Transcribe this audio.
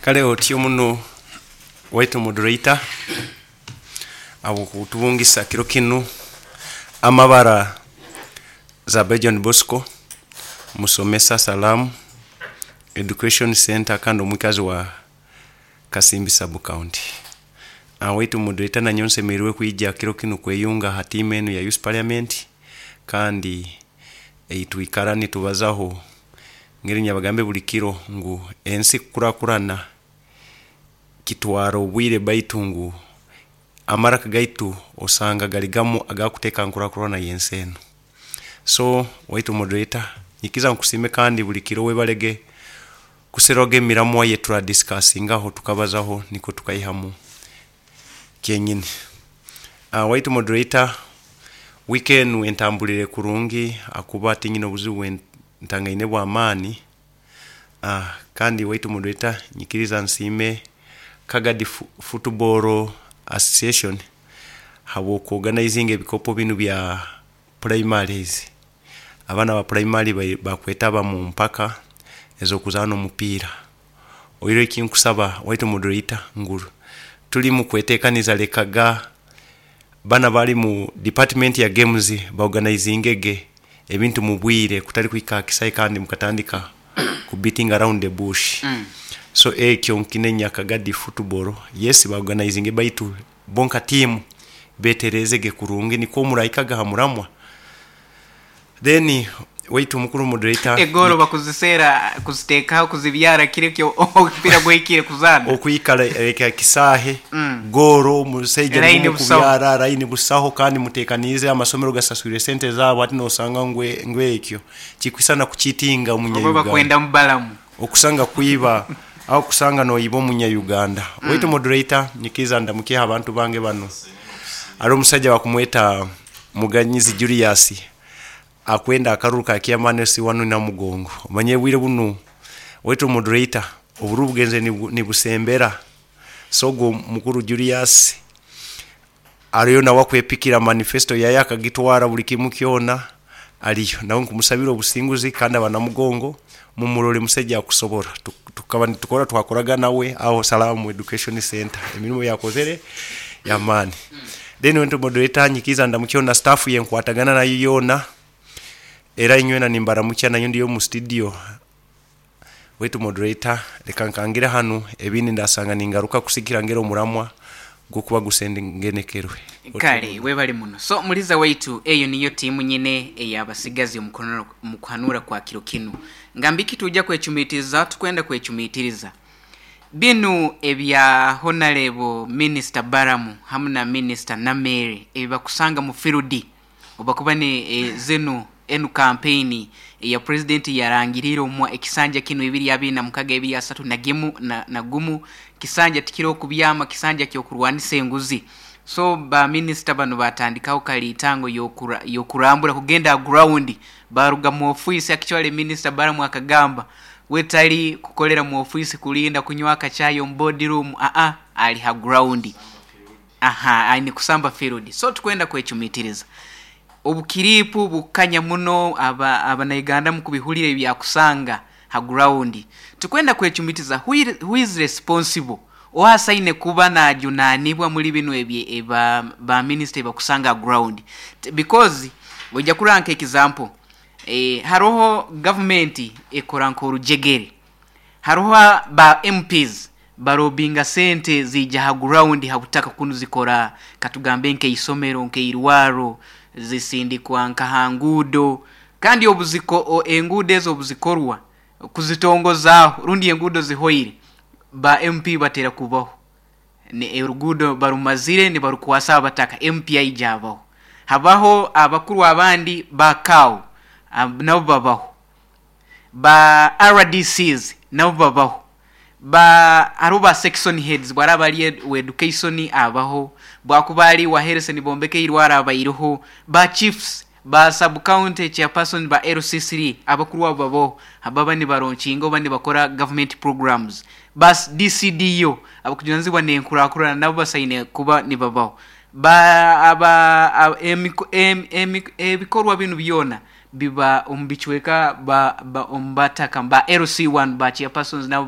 Kale otyo muno waitu moderator habw'okutubungisa kiro kinu. Amabara Zabe John Bosco, musomesa Salaam Education Center kandi omwikazi wa Kasimbi Sub County. Waitu moderator, nanyowe nsemeriirwe kwija kiro kinu kweyunga ha tiimu enu ya Youth Parliament, kandi eitwikara nitubazaho ngeri nyabagambe buli kiro ngu ensi kukurakurana kitwara obwire, baitu ngu amaraka gaitu osanga gali gamu agakuteeka nkurakurana yensi enu. So waitu moderator, nyikiza nkusiime kandi buli kiro webalege kuseroga emiramwa yeturadiscussingaho, tukabazaho nikwo tukaihamu kyenyini. Waitu moderator, wiiki enu entambulire kurungi akuba tinyine obuzibu bwentangaine bwamaani. Kandi waitu moderator, nyikiriza nsiime Kagadi Football Association habw'okuorganizinga ebikopo binu bya primaries. Abaana ba primary bakwetaba mu mpaka ez'okuzaana omupiira. Oihireho ekinkusaba waitu moderator ngu tuli mu kwetekaniza, lekaga bana bali mu department ya games baorganizingege ebintu mu bwire, kutali kuhika ha kisaayi kandi mukatandika ku beating around the bush. So ekyo nkinenya Kagadi Football, yes, baorganizinge, baitu bo nka tiimu beterezege kurungi nikwo murahikaga ha muramwa. Then waitu mukuru moderator, Egoolo bakuziseera kuziteekaho kuzibyara kiro ekyo omupiira guhikire kuzaana. Okwikara eka kisaahe goolo omusaija Line niwe busaho. Mukubyara line busaho, kandi mutekaniize amasomero gasaswire sente zaabo, hati nosanga ngu ngu ekyo kikwisana kukitinga Oba omunya-Uganda. Bakwenda mubalamu. Okusanga kwiba aho kusanga noyiba omunya-Uganda. Waitu moderator, nyikiriza ndamukyeho abantu bange banu. Hariho omusaija bakumweta Muganyizi Julius, akwenda akaruru ka chairman LC1 Namugongo. Omanye obwire bunu waitu moderator, obururu bugenze nibusembera. So ogwo mukuru Julius ariyo nawe akwepikira manifesto yaye akagitwara buli kimu kyona ariyo. Nawe nkumusabira obusinguzi, kandi abanamugongo mumurole musaija akusobora. Tukaba nitukora twakoraga nawe aho Salaam Education Center, emirimo yakozere yamaani. Then waitu moderator, nyikiza ndamukyeho na staff yenkwatagana nayo yoona, era inywena nimbaramukya, nayo ndiyo mu studio. Waitu moderator, leka nkangire hanu, ebindi ndasanga ningaruka kusigikira ngeri omuramwa gukuba gusengenekerwe. Kale webale muno. So muliza waitu, eyo niyo tiimu nyine ey'abasigazi omu kuhanura kwa kiro kinu. Ngambiki tuja kwecumitiriza, tukwenda kwecumitiriza. Binu ebya Honarebo Minisita Baramu hamu na Minisita Nameere ebibakusanga mu firudi obubakuba ni zinu enu kampeini eya Purezidenti yarangiriire omu ekisanja kinu ebiri abiri na mukaga ebiri asatu na gimu na gumu, kisanja tikiri okubyama, kisanja ky'okurwanisa enguzi. So ba minisita banu batandikaho kaliitango y'okurambura kugenda ha ground, baruga mu ofiisi. Actually Minisita Baramu akagamba we tali kukolera mu ofiisi kulinda kunywa akachai omu board room, aa ali ha ground. Aha, aine kusamba field. So tukwenda kwecumitiriza. Obukiripu bukanya muno aba abanauganda mukubihulira ebyakusanga ha ground. Tukwenda kwecumitiza who is responsible? Oha asaine kuba najunanibwa muli binu ebye ba, ba minister ebakusanga ha ground? Because oija kurora nka example, haroho government ekora nk'orujegere. Haroho ba MPs barobinga sente ziija ha ground ha butaka kunu zikora katugambe nk'eisomero, nk'eirwaro, zisindikwa nka ha nguudo, kandi obuziko enguudo ezo obuzikorwa kuzitongozaaho rundi enguudo zihoire, ba MP batera kubaho. Oruguudo barumazire nibarukwasa abataka, MP aija abaho. Habaho abakuru abandi ba CAO nabo babaho. Ba RDCs nabo babaho. Ba hariho ba section heads bwaraaba ari owa education abaho, bwakuba ari owa health nibombeka eirwaro abaireho, ba chiefs, ba sub county chairpersons ba LC3 abakuru abo babaho baba nibaronkinga oba nibakora government programs. Ba DCDO abakujunanizibwa n'enkurakurana nabo basaine kuba nibabaho. Ba aba emiko ebikorwa binu byona biba omu bicweka ba omu bataka ba LC1 ba chairpersons nabo.